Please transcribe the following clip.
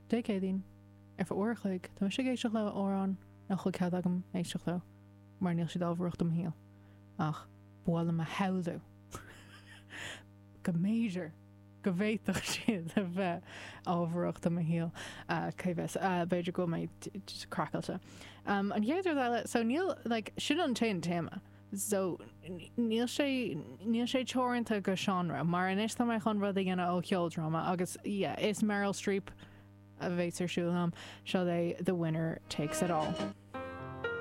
Dé Céadaoin, ar feadh uair a chloig, tá mise ag éisteacht le amhráin nach bhfuil cead agam éisteacht leo mar níl siad ábharach do mo shaol, ach ba mhaith liom a shamhlú go mb'fhéidir go bhféadfadh siad a bheith ábharach do mo shaol. Cá bhfios? B'fhéidir go bhfuil mé just craiceáilte. An chéad rud eile, so níl, like, sin an t-aon téama. So níl sé, níl sé teoranta go seánra, mar anois tá mé chun rud a dhéanamh ó cheoldráma agus yeah, is Meryl Streep a bheas ar siúl agam. Seo é The Winner Takes It All.